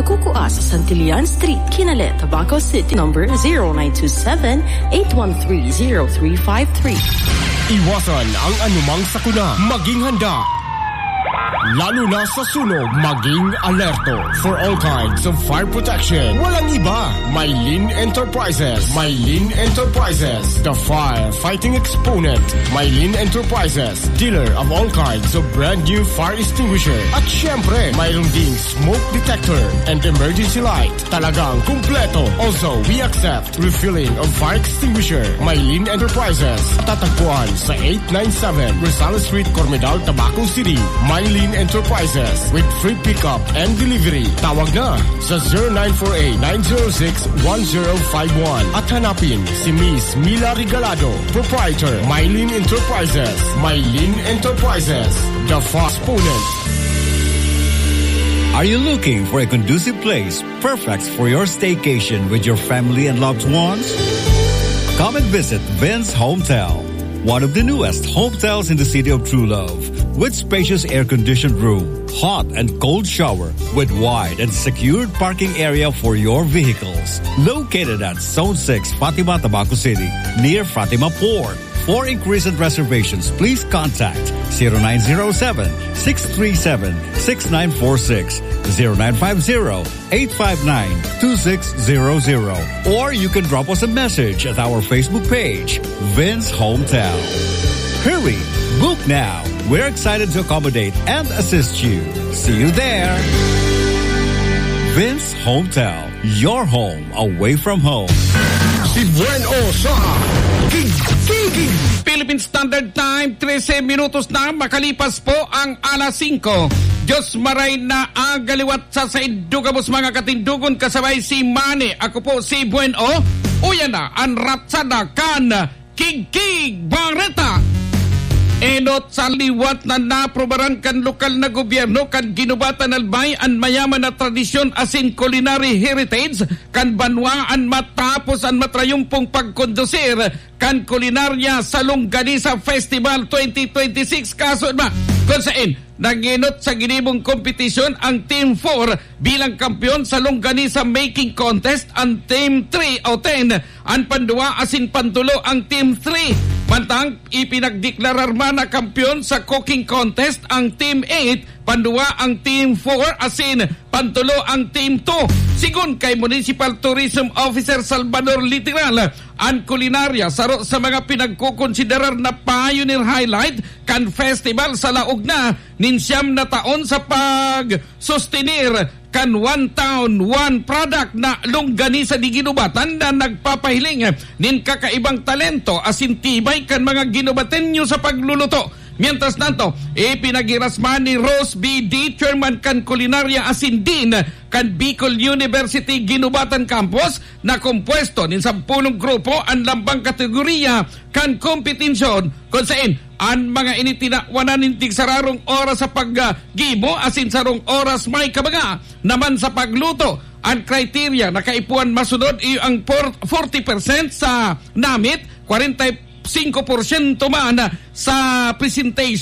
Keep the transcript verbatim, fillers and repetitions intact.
Kukua sa Santillan Street, Kinale, Tabaco City, number zero nine two seven, eight one three, zero three five three. Iwasan ang anumang sakuna. Maging handa. Lalo na sa sunog, maging alerto. For all kinds of fire protection, walang iba. Maylin Enterprises. Maylin Enterprises, the firefighting exponent. Maylin Enterprises, dealer of all kinds of brand new fire extinguisher. At syempre, mayroon ding smoke detector and emergency light. Talagang kumpleto. Also, we accept refilling of fire extinguisher. Maylin Enterprises. Tatagpuan sa eight nine seven Rosales Street, Cormedal, Tabaco City. Maylin Enterprises with free pickup and delivery. Tawag na sa zero nine four eight, nine zero six, one zero five one. At hanapin si Miss Mila Regalado, proprietor, Maylin Enterprises. Maylin Enterprises, the fast exponent. Are you looking for a conducive place perfect for your staycation with your family and loved ones? Come and visit Vince Hometel, one of the newest hotels in the city of True Love, with spacious air-conditioned room, hot and cold shower, with wide and secured parking area for your vehicles. Located at Zone six, Fatima, Tabaco City, near Fatima Port. For inquiries and reservations, please contact zero nine zero seven, six three seven, six nine four six, zero nine five zero, eight five nine, two six zero zero. Or you can drop us a message at our Facebook page, Vince Hometel. Hurry! Book now! We're excited to accommodate and assist you. See you there! Vince Hometel, your home away from home. Si Buen O sa Gig-, Gig-, Gig-. Philippine Standard Time, trese minutos na makalipas po ang alas singko. Diyos maray na aga liwat sa saindo gabos mga katindogon kasabay si Manny. Ako po si Buen O. Uyan na an ratsada kan Kigkig Bareta. Enot sa liwat na naprobaran kan lokal na gobyerno kan Guinobatan Albay an mayaman na tradisyon asin culinary heritage kan banwaan matapos an matrayumpong pagkondusir kan kulinarya sa Longganisa Festival twenty twenty-six, kaso ba, kung sain nag-enot sa ginibong kompetisyon ang Team four bilang kampeon sa Longganisa Making Contest, ang Team three o ten an panduwa asin pantulo ang Team three. Mantang ipinagdeklarar man na kampeon sa Cooking Contest ang Team eight, panduwa ang Team four asin pantulo ang Team two. Sigon kay Municipal Tourism Officer Salvador Literal, an kulinarya saro sa mga pinagkokonsiderar na pioneer highlight kan festival sa laog na nin siyam na taon sa pagsustenir kan One Town, One Product na Longganisa de Guinobatan na nagpapahiling nin kakaibang talento asin tibay kan mga Guinobateño sa pagluluto. Mientras tanto, ipinaghiras man ni Rose B D, chairman kan kulinarya asin dean kan Bicol University Guinobatan Campus, na kompuesto nin sampolong grupo an lambang kategoriya kan kompetensyon, kun sain an mga ini tinawanan nin tigsararong oras sa paggibo asin sarong oras may kabaga naman sa pagluto. An kriterya na kaipuhan masunod iyo ang por-, forty percent sa namit, kwarenta y singko porsyento man sa presentation.